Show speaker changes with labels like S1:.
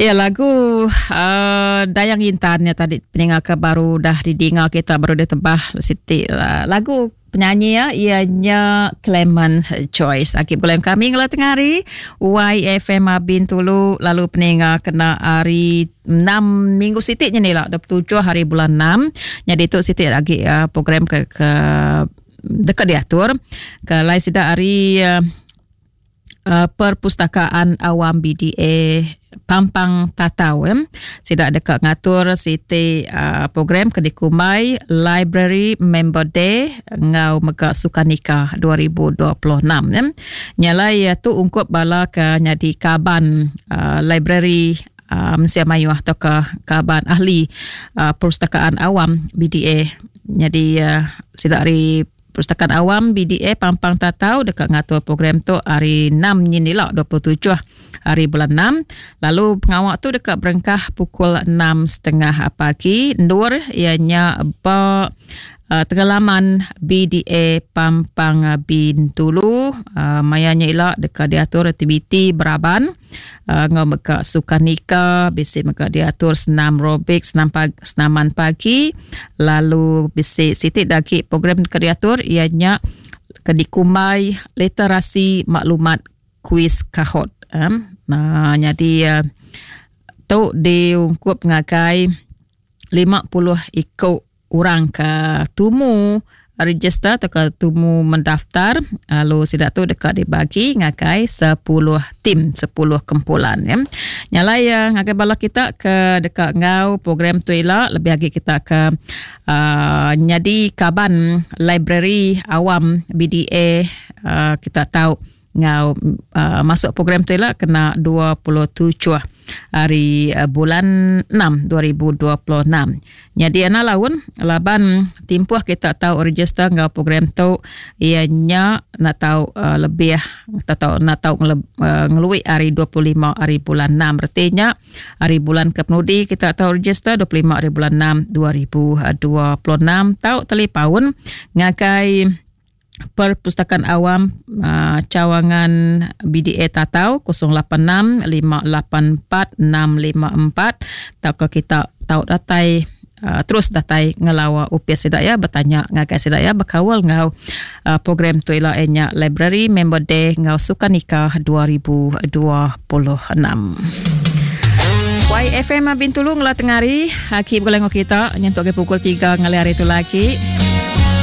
S1: Ya lagu uh, Dayang Intan ya tadi peninga ke baru dah didinga kita baru ditebah siti uh, lagu penyanyi ya ianya Clement Joyce. Aki bulan kami ngela tengah hari YFM Bintulu lalu peninga kena hari 6 minggu siti nya ni lah 27 hari bulan 6. Jadi tu siti lagi uh, program ke, ke deka diatur ke lai sida hari uh, uh, Perpustakaan Awam BDA Pampang Tatau ya. Sida deka ngatur siti uh, program ke dikumbai Library Member Day enggau mega Sukanika 2026 ya. Nyalai uh, tu ungkup bala ke nyadi kaban uh, library uh, mensia mayuh atau ke kaban ahli uh, Perpustakaan Awam BDA. Jadi uh, sida ari Perpustakaan Awam BDA Pampang Tatau deka ngatur program tu hari 6 nyin ila 27 hari bulan 6 lalu pengawa tu deka berengkah pukul 6.30 pagi endur iya nya ba uh, tengelaman BDA Pampang Bintulu uh, maya nya ila deka diatur aktiviti beraban uh, enggau mega sukanika bisi mega diatur senam aerobik senam pagi, senaman pagi lalu bisi siti da agi program ke diatur iya nya ke dikumbai literasi maklumat kuiz kahot um, nah, nyadi uh, tu diungkup ngagai 50 iku orang ke tumu register atau ke tumu mendaftar lalu sida tu deka dibagi ngagai 10 tim 10 kumpulan ya. Nyalai ya ngagai bala kita ke deka enggau program tu ila lebih agi kita ke uh, nyadi kaban library awam BDA uh, kita tahu enggau uh, masuk program tu ila kena 27 hari uh, bulan 6 2026. Nyadi ana laun laban timpuh kita tau register enggau program tu iya nya nak tau uh, lebih atau nak tau ngele, uh, ngelui hari 25 hari bulan 6 reti nya hari bulan ke penudi kita tau register 25 hari bulan 6 2026 tau talipaun ngagai Perpustakaan Awam uh, Cawangan BDA Tatau 086 584 654 tauka kita tau datai uh, terus datai ngelawa upis sida ya bertanya ngagai sida ya berkaul ngau uh, program tu ila nya Library Member Day ngau Sukanika 2026. YFM Bintulu ngela tengari aki begulai ngau kita nyentuk ke pukul 3 ngalih hari tu lagi.